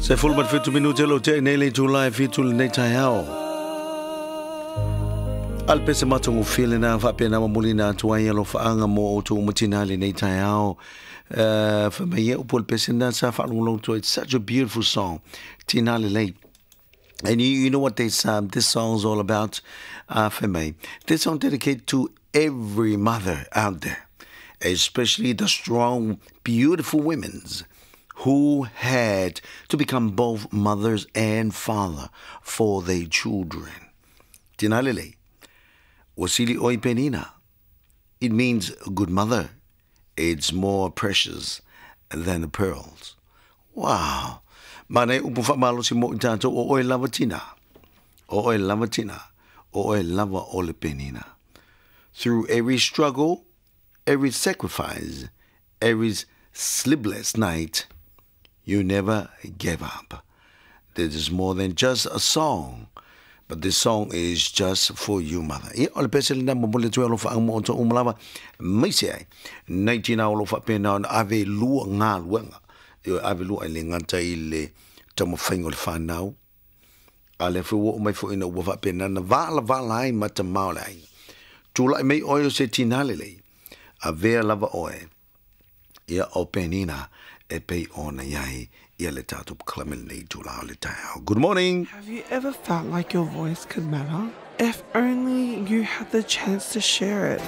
17 minute lo te nei le itula e 7 lenei taeao. A le pese matagofie lena faapena momoliina atu ai alofaaga mo outou uma tinā lenei taeao. Fai mai e upu o le pese lena sa faalogologo atu ai. It's such a beautiful song. Tinā Lelei. And you know what this song is all about? For me. This song dedicated to every mother out there, especially the strong, beautiful women who had to become both mothers and father for their children. Tinā lelei, ua sili oe i penina. It means good mother. It's more precious than the pearls. Wow. Manaia upu faamalosi mo i tatou o oe lava tinā. O oe lava tinā. O oe lava o le penina. Through every struggle, every sacrifice, every sleepless night, you never gave up. This is more than just a song. But this song is just for you, mother. Ia, o le pese lena momoli atu alofaaga mo outou uma lava. Aemaise ai, nai tinā o lo o faapena ona ave lua galuega. Ioe, ave lua e le gata i le taumafaiga o le fanau. A lea foi ua oo mai foi ina ua faapena ona valavala ai ma tama o le aiga. Tulai mai oe o se tinā lelei, avea lava oe ia o penina e pei ona i ai ia le tatou polokalame lenei itula o le taeao. Good morning! Have you ever felt like your voice could matter? If only you had the chance to share it.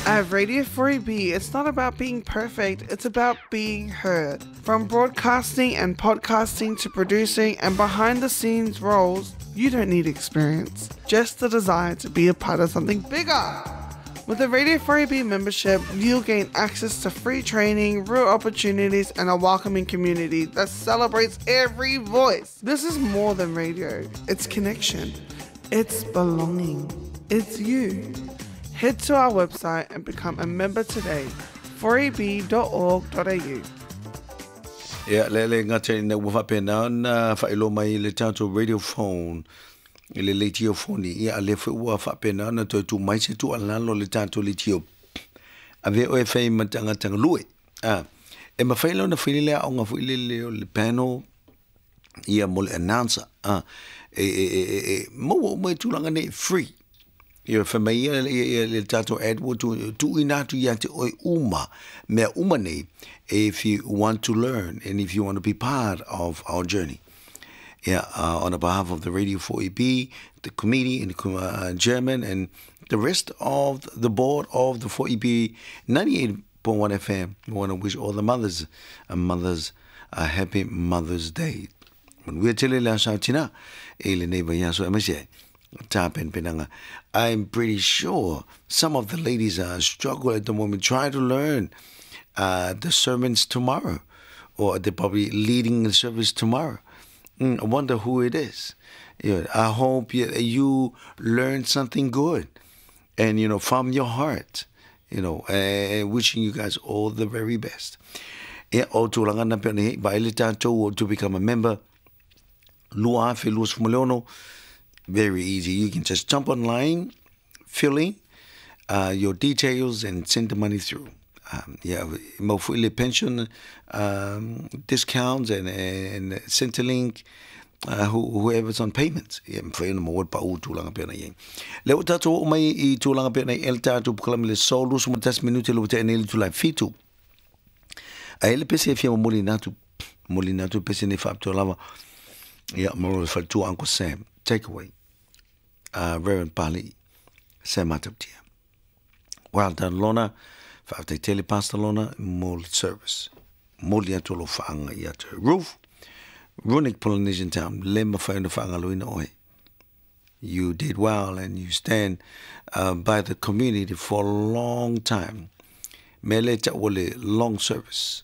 At Radio 4EB, it's not about being perfect, it's about being heard. From broadcasting and podcasting to producing and behind the scenes roles, you don't need experience, just the desire to be a part of something bigger. With a Radio 4EB membership, you'll gain access to free training, real opportunities, and a welcoming community that celebrates every voice. This is more than radio, it's connection, it's belonging, it's you. Head to our website and become a member today. 4eb.org.au. Ia, le le gata ina ua faapena ona faailoa mai le tatou radio phone i le leitio foni, ia a lea foi ua faapena ona toe tuu mai se tuualalo le tatou leitio. Avea oe e fai ma tagata galue. A, e mafai la ona fai le aoga foi lele o le panel ia mo le announcer. A, e, e, e, e, e maua uma i tulaga nei free. Ia fai mai ia, ia, ia le tatou ad ua tuuina atu ia te oe uma mea uma nei if you want to learn and if you want to be part of our journey. Yeah, on behalf of the Radio 4EB, the committee and the chairman and the rest of the board of the 4EB 98.1 FM, we want to wish all the mothers and mothers a happy Mother's Day. Manuia tele le aso a tinā i lenei vaiaso aemaise ai tapenapenaga. I'm pretty sure some of the ladies are struggling at the moment trying to learn the sermons tomorrow, or they're probably leading the service tomorrow. I wonder who it is. I hope you learn something good and, from your heart, and wishing you guys all the very best. Ia, o tulaga na pei ona i ai, vaai le tatou to become a member, 2026, very easy. You can just jump online, fill in your details and send the money through. Yeah, mau foi le pension discounts and Centrelink, whoever's on payments. Ia, mafai ona maua le pau tulaga pei ona i ai. Lea ua tatou oo mai i tulaga pei ona i ai le tatou polokalame le aso 21 minute le ua tea nei le itula e 7. Ae i ai le pese e fia momoli atu pese nei faapitoa lava. Ia, mo le faletua Uncle Sam, takeaway, Reverend Pali, Sam Matautia. Well done, Lona. Faafetai tele Pastor Lona mo le service. Momoli atu alofaaga ia te Ruth. Runic Polynesian Town, le mafai ona faagaloina oe. You did well and you stand by the community for a long time. Me le ta'ua le long service.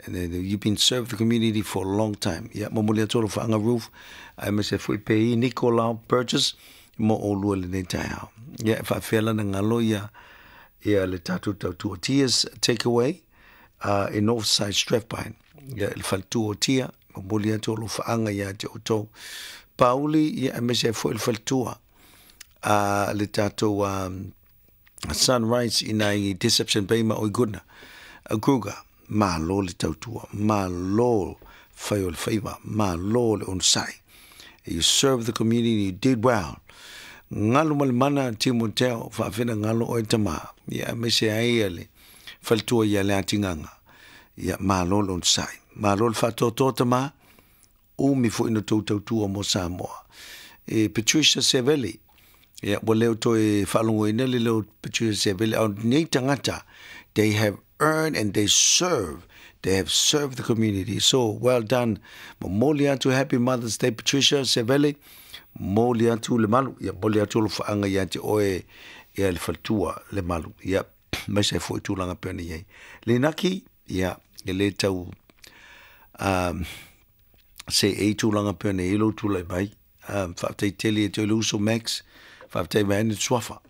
And then you've been served the community for a long time. Ia, momoli atu alofaaga Ruth, aemaise foi pe i Nicolau Burgess mo oulua lenei taeao. Ia, e faafefea la ona galo ia le tatou tautua Tia's Takeaway in Northside Strathpine. Ia, le faletua o Tia, momoli atu alofaaga ia te outou. Pauli, ia, aemaise foi le faletua le tatou Sunrise ina i Deception Bay ma Oe Goodna. Kruger. Malo le tautua, malo fai o le faiva, malo le onosai. You serve the community, you did well. Galu ma le mana Timoteo, faafena galo oe tama. Ia aemaise ai ia le faletua ia Leatigaga. Ia malo le onosai. Malo le faatoatoa tama, umi foi na tou tautua mo Samoa. E Patricia Seveli, ia ua leo toe faalogoina le leo Patricia Seveli, a o nei tagata, they have earned and they serve, they have served the community. So well done. Momoli atu Happy Mother's Day Patricia Seveli, momoli atu le malu, ia momoli atu alofaaga ia te oe ia le faletua le malu. Ia aemaise ai foi tulaga pei ona i ai. Lenaki, ia e le tau um, se e tulaga pei ona i ai lou tulai mai. Um, faafetai tele ia te oe le uso Max, faafetai mai ai le suafa.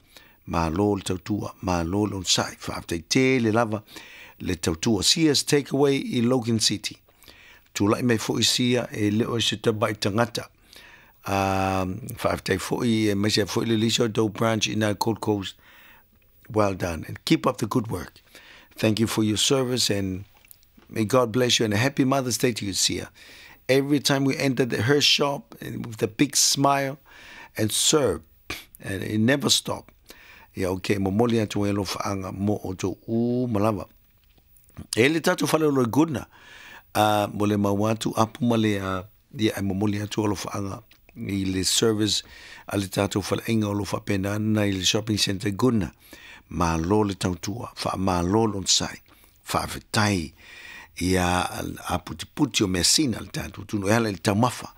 Malo le tautua, malo le onosai, faafetai tele lava le tautua. Sia's Takeaway i Logan City. Tulai mai foi Sia e le o se tamai tagata. Um, faafetai foi aemaise ai foi le Lisa Doe Branch i nā Gold Coast. Well done and keep up the good work. Thank you for your service and may God bless you and a happy Mother's Day to you, Sia. Every time we entered her shop with a big smile and serve and it never stop. Ia okay, momoli atu e alofaaga mo outou uma lava. E le tatou fale o loi Goodna, a mo le mau atu apu ma le a ia e momoli atu alofaaga i le service a le tatou faleaiga o lo faapena ana i le shopping centre Goodna. Malo le tautua, faamalo le onosai, faafetai ia aputiputi o measina le tatou atunuu e ala i le taumafa,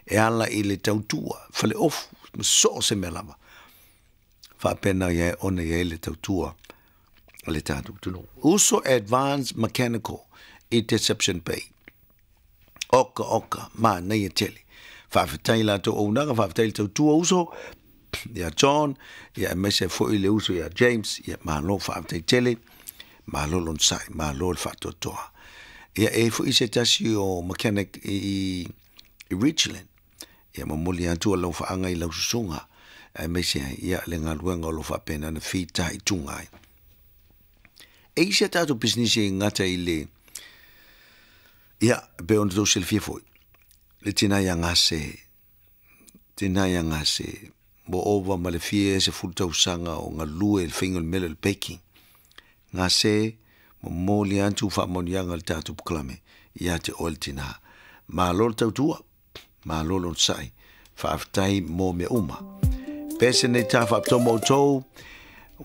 e ala i le tautua, faleofu, ma so o se mea lava. Faapena ia ona i ai le tautua a le tatou atunuu. Uso Advanced Mechanical i Deception Bay. Oka oka, manaia tele. Faafetai i latou auaunaga, faafetai i le tautua uso ia John, ia aemaise ai foi le uso ia James, ia malo faafetai tele, malo le onosai, malo le faatoatoa. Ia e i ai foi se tasi o mechanic i, i Richland, ia momoli atu alofaaga i lau susuga, aemaise ai ia le galuega o lo o faapena ona fitaituga ai. E i ai si a tatou pisinisi e gata i le, ia, e pei ona tou silafia foi, le tina ia Gase, tina ia Gase, ua ova ma le fia 10 tausaga o galue i le faiga o le mea lea o le baking. Gase, momoli atu faamanuiaga a le tatou polokalame ia te oe le tina. Malo le tautua. Malo le onosai. Faafetai mo mea uma. Pese nei tā faapitoa mo outou,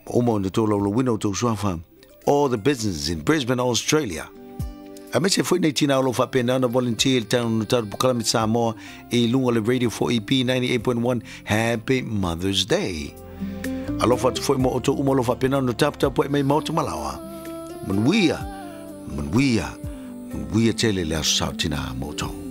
uma ona outou laulauina outou suafa, all the businesses in Brisbane, Australia. Aemaise foi nei tina o lo o faapena ona volunteer i le tatou tatou polokalame Samoa i luga o le Radio 4EB 98.1 Happy Mother's Day. Alofa atu foi mo outou uma o lo o faapena ona taputapuai mai maota malaoa. Manuia, manuia, manuia tele le aso sao tina mo outou.